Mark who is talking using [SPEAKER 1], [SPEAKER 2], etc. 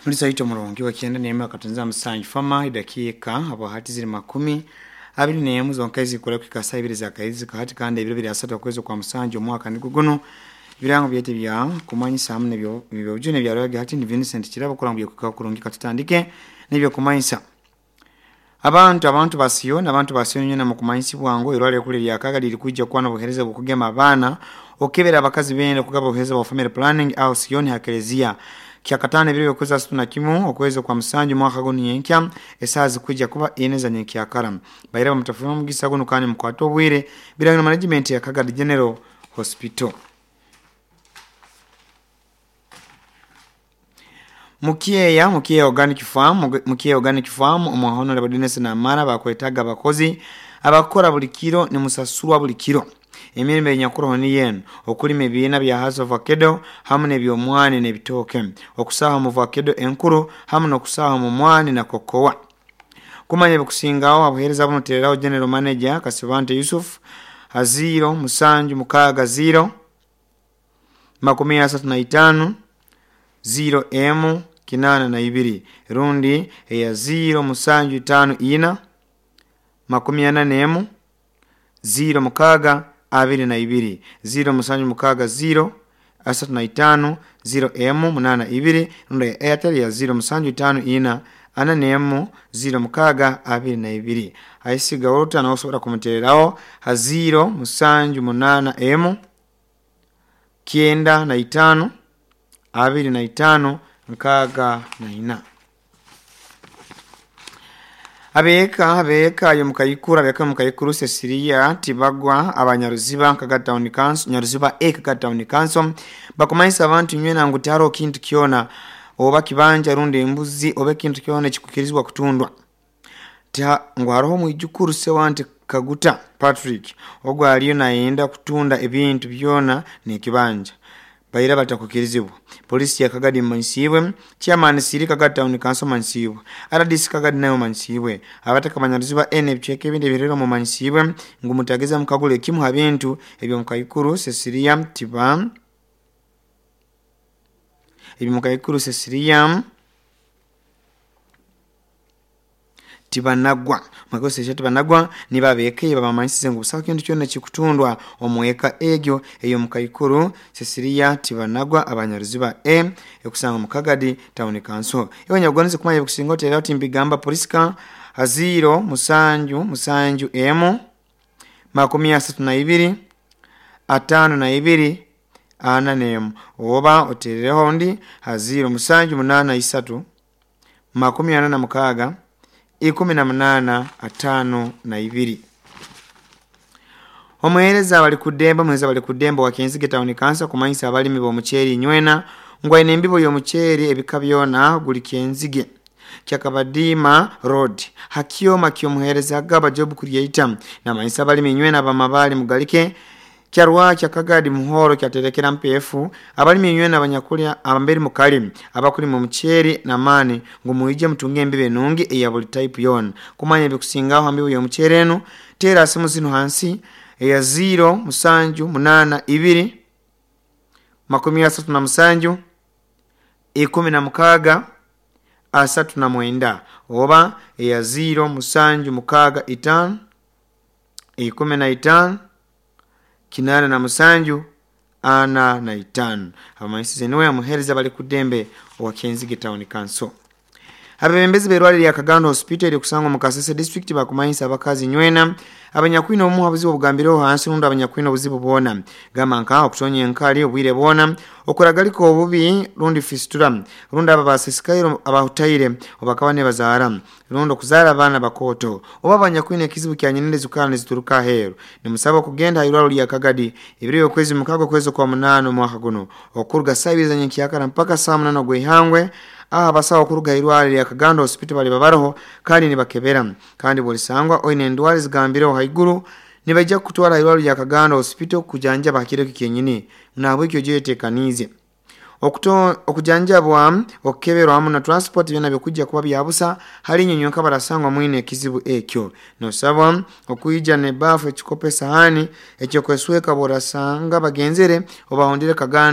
[SPEAKER 1] Muri omurungi wa 97.7 fama idakika abo hati ziri 21 zonka zikora kwikasa ibiri za kaizi kahati kandi ibiro biri asatu okwezi kwa musanju omwaka nigwo guno birango byete bya kumanyisa hamwe nebyo byojune bya roga hati ni Vincent Kirabo kurambye kukurungi katutandike nibyo kumanyisa abantu basiyo n'abantu basiyo nyina mu kumanyisi bwango irwale kule lya kaga lilikuja kwa n'obuhereza bukugema abana okebera abakazi bende kugaba obuhereza bwa family planning au siyoni hakelezia kyakatano ibiro byokwezi asatu na kimu okwezi kwa musanju mwaka guno nyenkya esaha zikuja kuba ine za nyenkyakara baira bamutafuna omugisa guno kandi mukwate obwire birangiro management ya Kagadi General Hospital. Mukiya organic farm omuhono Dennis na Mara bakwetaga abakozi abakora buli kiro ni musasurwa buli kiro. Emirimo enyakuroho ni yenu okulima ebiina bya hasi avocado hamu n'ebyomwani n'ebitooke, okusaaha mu avocado enkuru hamu n'okusaaha mu mwani na kokowa. Kumanya ebikusingaho abuheereza buno tereraho General Manager Kasibante Yusuf ha 0 7 6 0 35 0 M 82 rundi eya 0 7 5 4 41 0 6 22 0 7 6 0 35 0 M 82 rundi ya Airtel ya 0 7 5 4 4 0 6 22 aisiga oluta na osobola kumutereraho ha 0 7 8 M 95 25 64. Abeka yo mukayikuru Cecilia Tibagwa abanyaruziba Kagadi Town Council Nyaruziba A Kagadi Town Council bakumanyisa abantu nywena ngu taro kintu kyona oba kibanja rundi embuzi oba kintu kyona ekikukirizibwa kutundwa. Ngu haroho mwijukuru Sewante Kaguta Patrick ogwo aliyo nayenda kutunda ebintu byona n'ekibanja. Baira batakukirizibwa. Polisi ya Kagadi manyisibwe, chairman Siri Kagadi Town Council manyisibwe, RDC Kagadi nayo manyisibwe, abataka banyaruziba N ebicweka ebindi ebirero mu manyisibwe ngu mutageza mukagule kimu ha bintu ebyo mukayikuru Cecilia Tiba ebyo mukayikuru Cecilia Tibanagwa makose Tibanagwa nibabeke babamanyisize ngu busaho kintu kyona kikutundwa omweka egyo eyo mukayikuru Cecilia Tibanagwa abanyaruziba E ekusanga mu Kagadi Town Council. Ewe nyagonze kumanya kusinga otera timbigamba polisika ha 0 7 7 M 32 52 4 oba oterereho ndi ha 0 7 8 3 46 18 52. Omuhereza bali kudemba wa Kenzige Town Council kumanyisa abalimi b'omuceeri nywena ngwa embibo y'omuceeri ebika byona guli Kenzige Kyakabadima Road hakioma kyomuhereza agaba job creator na manyisa abalimi nywena bamabali mugalike kyarwa kyakagadi muhoro kyaterekera MPF abalimi nywena abanyakulya abamberi mukali abakuli mu muceeri na mani ngu muije mutunge embibe nungi eya buli type yona. Kumanya ebikusingaho ambibo y'omuceeri eno tera simu zino hansi eya 0 7 8 2 37 16 39 oba eya 0 7 6 5 15 87 45. Abamanyisize niwe amuhereza bali kudembe owa Kenzige Town Council. Abebembezi berwali ya Kagando Hospital eri kusangwa mu Kasese District bakumanyisa abakazi nywena abanyakwina omuha obuzibu obugambireho hansi rundi abanyakwina obuzibu bwona gamba nka okutonya enkali obwire bwona okuragaliko obubi rundi fistula rundi aba basisikairo abahutaire obakaba nebazaara rundi okuzaara abaana bakoto oba abanyakwina ekizibu kya nyenende zukala nezituruka aheeru. Nimusaba kugenda irwaro lya Kagadi ebiro okwezi mukago kwezi kwa 8 omwaka guno okuruga saa 2 za nyenkyakara mpaka saa 8 ogw'ihangwe. Aha basawo kuruga irwale lya Kagando Hospital bali babaroho kandi nibakebera kandi bolisangwa oine endwara zigambireho haiguru nibajja kutwala irwale lya Kagando Hospital kujanja bakireko kyenyini nabwekyo jetekanize okujanjabwa okukeberwa hamu na transport byona byokujja kuba byabusa hali nyonyoka barasangwa mwine ekizibu ekyo. Nosabwa okuija ne bafu ekikope sahani ekyo kwesweka borasanga bagenzere obahondere Kagando.